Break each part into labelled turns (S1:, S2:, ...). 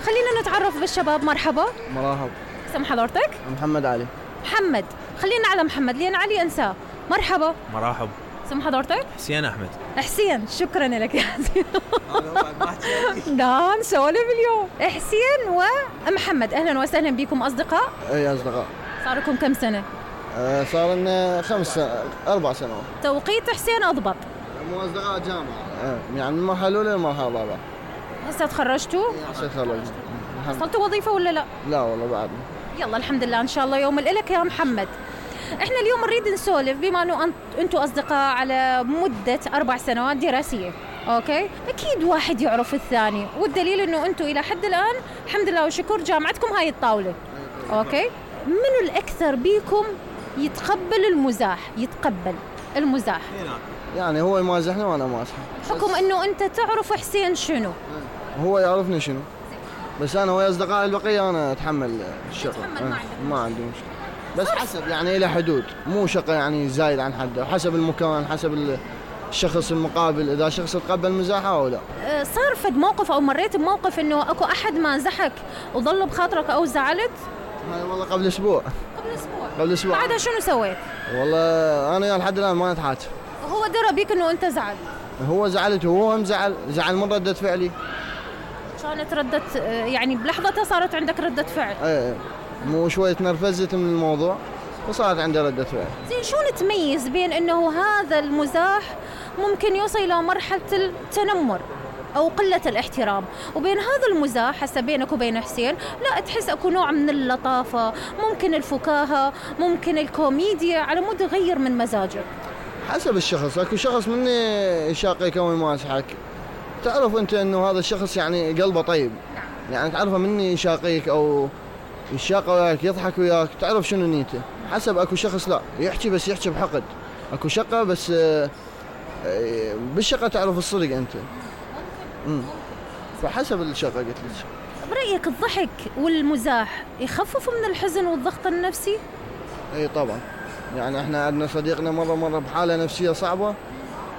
S1: خلينا نتعرف بالشباب. مرحبا.
S2: مرحبا.
S1: اسم حضرتك؟
S2: محمد علي.
S1: محمد. خلينا على محمد لأن علي أنساه. مرحبا.
S3: مرحبا.
S1: اسم حضرتك؟
S3: حسين أحمد.
S1: حسين، شكرا لك يا حسين. لا نسولف اليوم. حسين ومحمد، أهلا وسهلا بكم أصدقاء.
S2: اي أصدقاء.
S1: صار لكم كم سنة؟
S2: صار لنا 4 سنوات.
S1: توقيت حسين أضبط.
S2: مو أصدقاء جامعة، يعني من المرحلة الأولى للمرحلة الرابعة.
S1: هسه تخرجتوا؟
S2: هسه تخرجت.
S1: حصلتوا وظيفة ولا لا؟
S2: لا والله بعد.
S1: يلا الحمد لله، إن شاء الله يوم الإلك يا محمد. احنا اليوم نريد نسولف بما انه انتم اصدقاء على مدة 4 سنوات دراسية. اوكي، اكيد واحد يعرف الثاني، والدليل انه انتم الى حد الان الحمد لله والشكر جامعتكم هاي الطاولة. اوكي، منو الاكثر بيكم يتقبل المزاح؟
S2: يعني هو يمازحنا وانا مازحه.
S1: بحكم انه انت تعرف حسين شنو؟
S2: هو يعرفني شنو، بس انا ويا اصدقائي البقية انا اتحمل الشغل. ما عندي مشكلة، بس حسب يعني إلى حدود، مو شقة يعني زايد عن حده، حسب المكان، حسب الشخص المقابل، إذا شخص تقبل مزاحه أو لا.
S1: صار فد موقف أو مريت بموقف إنه أكو أحد ما زحك وظل بخاطرك أو زعلت؟
S2: هاي والله قبل أسبوع. قبل أسبوع.
S1: بعدها شنو سويت؟
S2: والله أنا لحد الآن ما نتحاتف.
S1: هو درى بيك إنه أنت زعل؟
S2: هو زعلت وهو هم زعل من ردة فعلي.
S1: كانت يعني بلحظتها صارت عندك ردة فعل؟
S2: ايه، مو شوية تنرفزت من الموضوع وصارت عندي ردة فعل.
S1: زين، شو نتميز بين انه هذا المزاح ممكن يوصل الى مرحلة التنمر او قلة الاحترام، وبين هذا المزاح هسه بينك وبين حسين لا تحس اكو نوع من اللطافة، ممكن الفكاهة، ممكن الكوميديا، على مود يغير من مزاجك؟
S2: حسب الشخص. اكو شخص مني يشاقيك او يمازحك، تعرف انت انه هذا الشخص يعني قلبه طيب، يعني تعرفه مني يشاقيك او يشاق وياك يضحك وياك، تعرف شنو نيته. حسب اكو شخص لا يحكي بس يحكي بحقد، اكو شقة بس بالشقة تعرف الصدق انت. فحسب الشقة قلت لك.
S1: برأيك الضحك والمزاح يخففوا من الحزن والضغط النفسي؟
S2: اي طبعا، يعني احنا عندنا صديقنا مرة بحالة نفسية صعبة،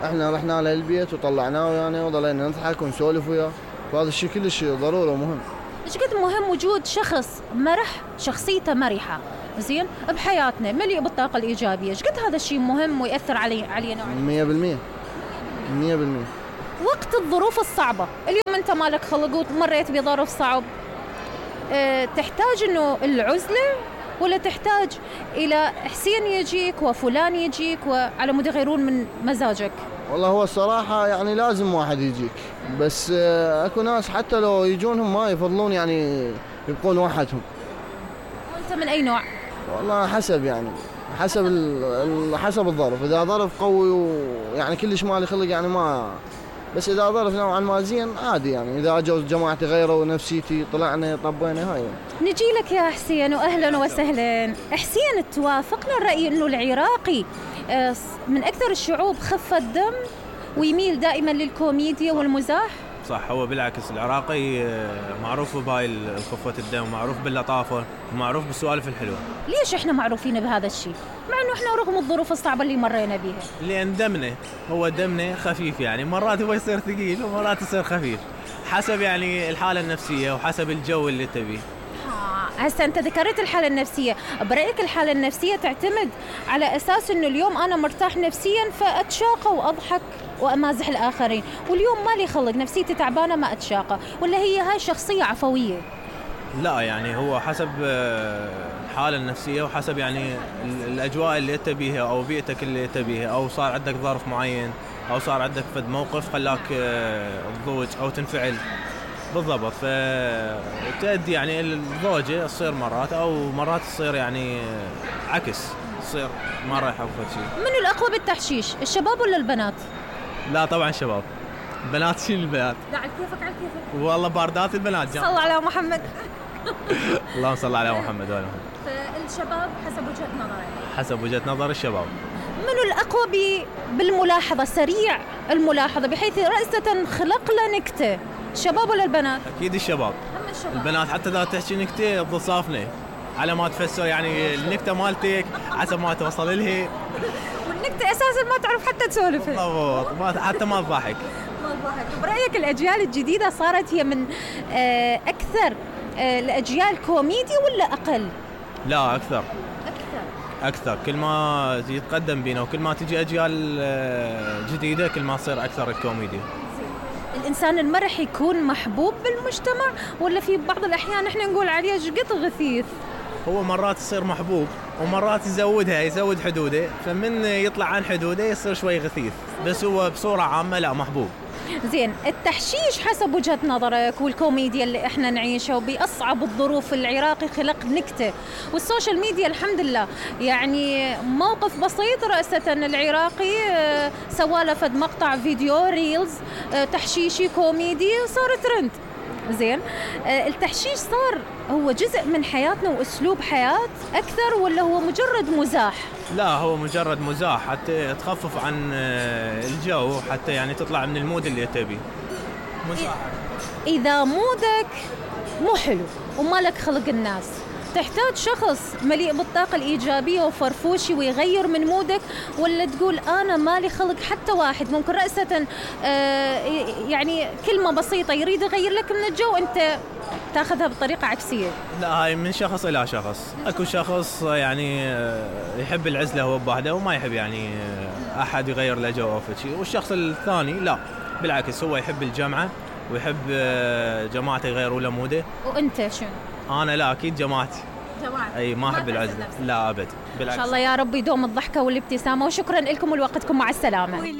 S2: احنا رحنا له البيت وطلعناه يعني وظلينا نضحك ونسولف وياه، فهذا الشيء كلش ضروري ومهم.
S1: ايش قد مهم وجود شخص مرح، شخصيته مرحة زين بحياتنا، مليء بالطاقة الإيجابية، ايش قد هذا الشيء مهم ويأثر علينا؟
S2: 100%.
S1: وقت الظروف الصعبة، اليوم انت مالك خلق ومريت بظرف صعب، تحتاج انه العزلة ولا تحتاج الى حسين يجيك وفلان يجيك وعلى مود يغيرون من مزاجك؟
S2: والله هو الصراحة يعني لازم واحد يجيك، بس اكو ناس حتى لو يجونهم ما يفضلون يعني يبقون وحدهم.
S1: وانت من اي نوع؟
S2: والله حسب يعني حسب الظرف. اذا ظرف قوي ويعني كلش مالي خلق يعني ما، بس اذا ظرف نوعا ما زين عادي يعني، اذا اجوا جماعتي غيروا ونفسيتي طلعنا طبينا هاي.
S1: نجي لك يا حسين واهلا وسهلا. حسين، توافقنا الرأي انه العراقي من اكثر الشعوب خفة دم ويميل دائما للكوميديا والمزاح؟
S3: صح، هو بالعكس العراقي معروف بهاي خفة الدم، ومعروف باللطافة، ومعروف بالسوالف الحلوة.
S1: ليش احنا معروفين بهذا الشيء مع انه احنا رغم الظروف الصعبة اللي مرينا بيها؟
S3: لان دمنا خفيف، يعني مرات هو يصير ثقيل ومرات يصير خفيف، حسب يعني الحالة النفسية وحسب الجو اللي تبيه.
S1: هسه انت ذكرت الحالة النفسية، برأيك الحالة النفسية تعتمد على اساس انه اليوم انا مرتاح نفسيا فاتشاقى واضحك وامازح الاخرين، واليوم مالي خلق نفسيتي تعبانة ما اتشاقى، ولا هي هاي شخصية عفوية؟
S3: لا، يعني هو حسب الحالة النفسية وحسب يعني الاجواء اللي تبيها او بيئتك اللي تبيها، او صار عندك ظرف معين او صار عندك فد موقف خلاك تضوج او تنفعل بالضبط، فتؤدي يعني الضوجة تصير مرات او مرات تصير يعني عكس، تصير ما رايحة وفد شيء.
S1: من الأقوى بالتحشيش، الشباب ولا البنات؟
S3: لا طبعا شباب. بنات شيل البنات.
S1: لا على كيفك.
S3: والله باردات البنات
S1: صلى على محمد.
S3: اللهم صل على محمد وعلى محمد.
S1: فالشباب حسب وجهة نظرك؟
S3: حسب وجهة نظر الشباب.
S1: من الأقوى بالملاحظة، سريع الملاحظة بحيث رأسة خلق له نكتة، الشباب ولا البنات؟
S3: أكيد الشباب. البنات حتى إذا تحكي نكتة تضصافني على ما تفسر يعني النكتة مالتك حسب ما توصل لها،
S1: والنكتة أساساً ما تعرف حتى تسولفها.
S3: بالضبط، حتى ما تضحك.
S1: برأيك الأجيال الجديدة صارت هي من أكثر الأجيال كوميدي ولا أقل؟
S3: لا أكثر.
S1: أكثر.
S3: أكثر، كل ما يتقدم بينا وكل ما تجي أجيال جديدة كل ما تصير أكثر الكوميديا.
S1: الإنسان المرح يكون محبوب بالمجتمع ولا في بعض الأحيان إحنا نقول عليه شقط غثيث؟
S3: هو مرات يصير محبوب ومرات يزود حدوده، فمن يطلع عن حدوده يصير شوي غثيث، بس هو بصورة عامة لا محبوب.
S1: زين، التحشيش حسب وجهة نظرك والكوميديا اللي احنا نعيشها وبأصعب الظروف، العراقي خلق نكتة والسوشيال ميديا الحمد لله يعني موقف بسيط رأسة العراقي سواله فد مقطع فيديو ريلز تحشيشي كوميدي صار ترند. زين، التحشيش صار هو جزء من حياتنا وأسلوب حياة أكثر ولا هو مجرد مزاح؟
S3: لا هو مجرد مزاح حتى تخفف عن الجو، حتى يعني تطلع من المود اللي تبيه. مزاح.
S1: إذا مودك مو حلو ومالك خلق الناس، تحتاج شخص مليء بالطاقة الإيجابية وفرفوشي ويغير من مودك، ولا تقول أنا مالي خلق حتى واحد ممكن رأسة يعني كلمة بسيطة يريد يغير لك من الجو أنت تاخذها بطريقة عكسية؟
S3: لا هاي من شخص إلى شخص. أكو شخص يعني يحب العزلة هو بوحده وما يحب يعني أحد يغير له جو أو شيء، والشخص الثاني لا بالعكس هو يحب الجمعة ويحب جماعته يغيروا له موده.
S1: وأنت شنو؟
S3: أنا لا أكيد جماعتي. أي ما أحب العزلة، لا أبد بالعكس.
S1: إن شاء الله يا رب يدوم الضحكة والابتسامة، وشكرا لكم ولوقتكم، مع السلامة.